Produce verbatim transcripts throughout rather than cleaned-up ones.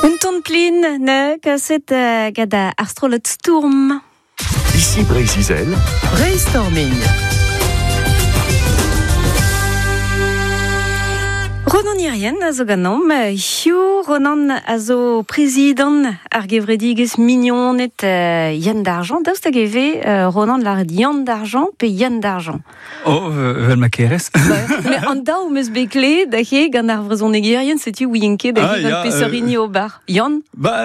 Un ton plin ne kaset uh, gant ar strollad Stourm. Ici Brésil. Brainstorming. Ronan Irien a zo ganom, Hiu Ronan a zo prezident ar gevredigez mignonet uh, Yann d'Argent. Daoust hag eve uh, Ronan lâret Yann d'Argent pe Yann d'Argent? Oh, vel ma kerez. Mais an daou meus bet kle da he gant ar vrezhonegerien, setu ouien ket da he gant peseurt hini ober. Yann? Ba,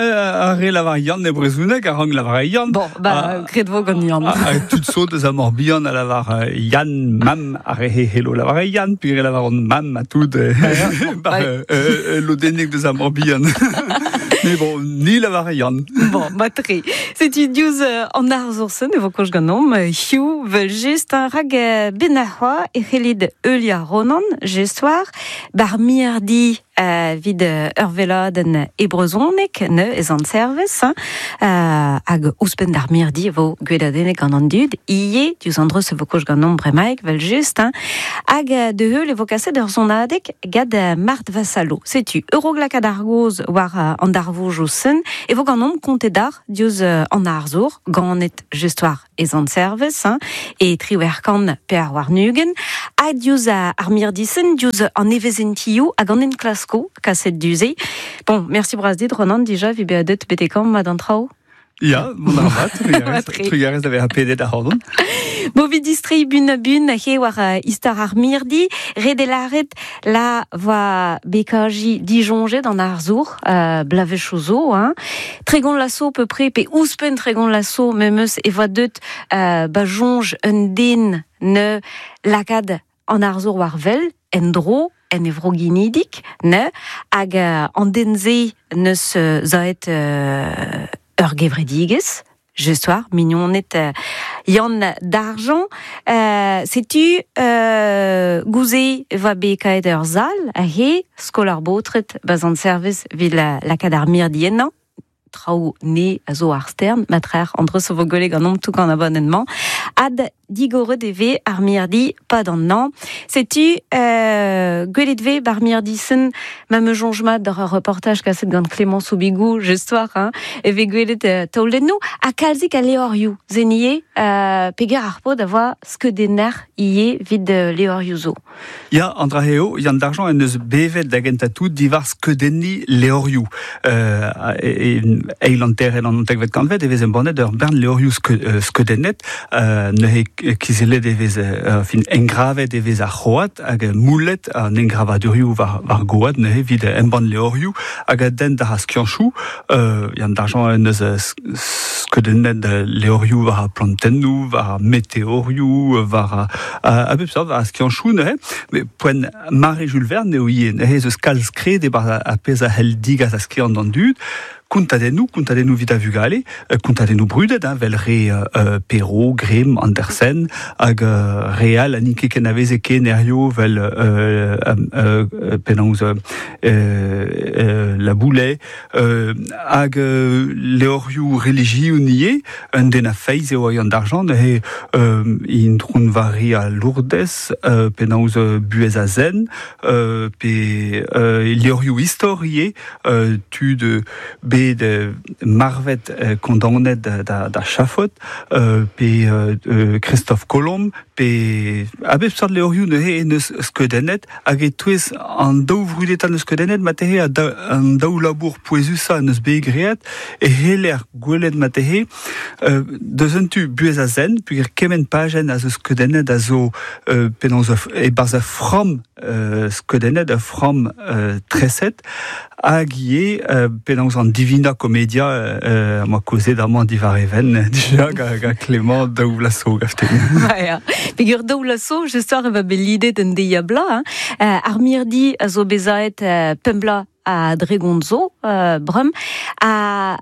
ar re lavar Yann e brezhoneg a rank lavar Yann. Bon, ba, gret vo gant Yann. A, tud zo deus a Morbihan a lavar Yann, mam, ar re he hello lavar Yann, puis re lavar on mam a tout. Ba, euh, euh, lodennek deus a Morbihan. Mais bon, ni lavar Yann. Bon, matre. Setu diouzh an arzour-se ne vo koch ganom, Hiu vel just un rag benahwa e c'hellid Eulia Ronan, gestoar, bar mirdi euh, vid ur veladenn e brezhoneg ne ez an servez, hein, euh, hag ouzhpenn d'ar mirdi vo gweladennek gant an dud, ie, diouzh an dreuz e vo koch ganom bremaik, vel just, hein, hag de heul e vo kaset ur sonadeg gad Mart Vassalo. Setu, Euroglakad ar goz war an darvouj o sen, e vo ganom kontet d'ar diouzh an arzour, ganet gestoar ez an servez, hein, e triwerkan pe ar war nugen, ha diouzh ar mirdisen, diouzh an evezentioù hag an enklasko kaset duze. Bon, merci bras dit, Ronan, dija, vi be adet betekam ma d'an traoù. Ya, bon ar vat, trugarez da vezañ pedet ac'hanon. Bo vid distrei bun a bun, he war uh, istor ar mirdi, redelaret la voa bekaji dijonjet an arzour, uh, blavechouzo, hein. Tregon lasso peu près, pe ouzhpenn tregon lasso, memeus e voa deut uh, ba jonj un den ne lakad an arzour war vel, en dro, en evro ginidik, ne, hag uh, an denze neus uh, zaet uh, ur gevredigez, gestoar, mignonet euh, Yann d'Argent. Euh, setu euh, gouze va bet kaet ur zal, he, skol ar baotred baz an service vid la, lakad ar mirdi ennañ, traoù ne a zo ar stern, matrer entre so vo gwelet gant omp tout gant abonnement, ad digoret e ve ar mirdi pad an nan. Setu euh, gwelet ve bar mirdi sen ma me jonj mat d'ur reportaj kaset gant Clément Soubigou, gestoar, hein, e ve gwelet euh, taolennoù, ha kalzik a leorioù, zenie, euh, peger ar pod a voa skeudenner ie vid euh, leorioù zo. Ya, an dra eo, Yann d'Argent en eus bevet da gentañ tout diwar skeudenni leorioù. Euh, e, eil an terren an antekvet kantved e vez embannet ur bern leorioù skeudennet, euh, neuze kizellet e vez euh, fin engravet e vez ar c'hoad hag moulet an engravadurioù war, war goad neuze vid embann leorioù hag a den d'ar skianchoù, euh, Yann d'Argent en eus skeudennet leorioù war ar plantennoù, war ar meteorioù, war a, a bep seurt war ar skianchoù neuze, mais poent mare Jules Verne eo ivez, neuze eus kalz kred e bar ar pezh a c'hell digas a skiant an dud, kontadennoù, kontadennoù vid a vugale, kontadennoù brudet, hein, vel re euh, Perrault, Grimm, Andersen, hag euh, real a n'int ket ken a veze ken erioù vel euh, euh, penaos euh, euh, la Boulet, euh, hag euh, leorioù religioù nie, un den a feiz eo Yann d'Argent, he euh, intron vari a Lourdes, euh, penaos buhez a zen, euh, pe euh, leorioù istor ie, euh, tud bet marvet euh, kondaonet da, da, da chafot, euh, pe euh, Christophe Colomb, pe a bep seurt leorioù neuze neus skeudennet, hag e touez an daou vrudetañ neus skeudennet, matehe a da, an daou labour pouezusañ neus bet great, e heller gwelet matehe, euh, deus un tu buhez a zen, puger kement pajenn a zo skeudennet a zo euh, penaos e barz a framm euh, skeudennet, a framm euh, treset, hag ivez euh, penaos an Divina Commedia euh, ma kozet amañ diwar even, dija ga, ga Clément daou lasso gafte. Ya, peger daou lasso, gestoar e va bet lidet un deiz bla, hein. Euh, ar mirdi a zo bezaet euh, pemp bla a dregont zo, euh, brem, a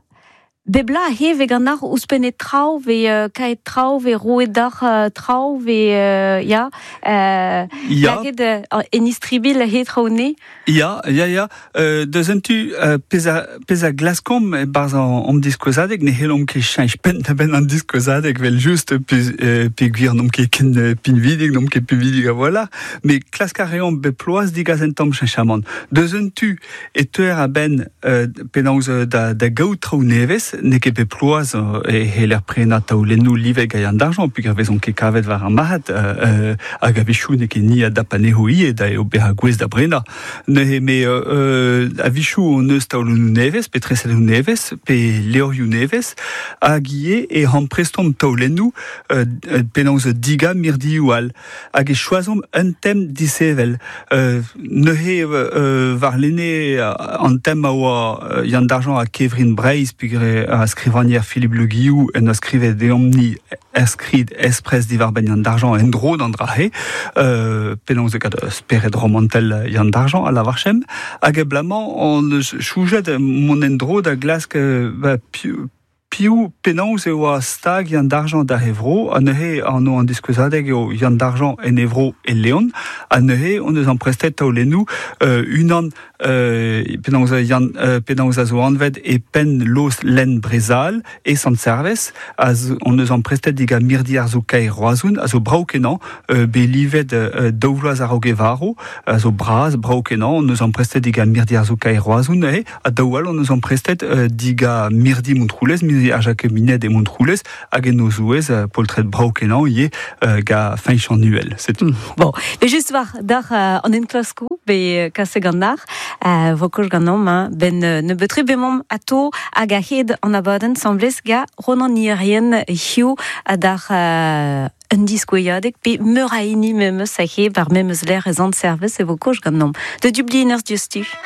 Bebla he ve gant ar ouzhpennet traoù, ve euh, kaet traoù, ve roet d'ar euh, traoù, ve euh, ya, euh, Ya. laket euh, en istribil he traoù ne. Ya, ya, ya. Euh, deus un tu euh, pez a, pez a glaskomp e barz an, an diskouezadeg, ne c'hellomp ket cheñch penn da benn an diskouezadeg, vel just, pe, euh, pe gwir n'omp ket ken euh, pinvidik, n'omp ket pinvidik a voilà, mais klask a reomp be ploaz digaz en tamm cheñchamant. Deus un tu e teuer a benn euh, penaos euh, da, da gaout traoù nevez, n'eo ket bet ploaz euh, e heller prena taolennoù livet ga Yann d'argent, pugur vezont ket kavet war ar marc'had, euh, euh, hag a-wechoù n'eo ket ni a dap anezho ivez, da eo bezañ gouest da brenañ. Neuze me euh, euh, a-wechoù hon eus taolennoù nevez, pe tresadennoù nevez, pe levrioù nevez, hag ivez e amprestomp taolennoù euh, euh, penaos diga mirdioù all. Hag e choazomp un tem disheñvel. Euh, neuze euh, war lene an tem a oa euh, Yann d'Argent a Kevrin Breizh, pugur a skrivagner Philippe Le Guillou en a skrivet deomp-ni er skrid espres diwar-benn Yann d'Argent en dro d'an dra-he, euh, penaos e kat spered romantel Yann d'Argent a lavarchem, hag e blamañ on eus choujet mon en dro da glask euh, ba, piv, piv penaos e oa stag Yann d'Argent da Evro, ha neuze an o an diskouezadeg eo Yann d'Argent en Evro e Leon, ha neuze on eus amprestet taolennoù euh, unan euh, penaos Yann euh, penaos a zo anvet e penn los lenn Brezal e Sant-Servez, a zo, on eus amprestet diga mirdi ar zo kaer Roazhon, a zo brav kenañ, euh, bet livet euh, daou vloaz a-raok e varo, a zo bras, brav kenañ, on eus amprestet diga mirdi ar zo kaer Roazhon, neuze, ha daou all on eus amprestet euh, diga mirdi Montroulez, mirdi ar Jacqueminet e Montroulez, hag en o zouez euh, poltred brav kenañ ivez euh, ga Feñch an Uhel. C'est Mm. Bon, mais just war d'ar euh, an enklaskoù, be kase gant ar, euh, vo koch ganeomp, hein, ben euh, nebeut-tre bemomp ato hag a-hed an abadenn semblez ga Ronan Hirrien hiziv ha d'ar euh, un diskouezadeg, pe meur a hini memes a he bar memes lec'h e Sant-Servez e vo koch ganeomp. De Dublin ur diouzhtu.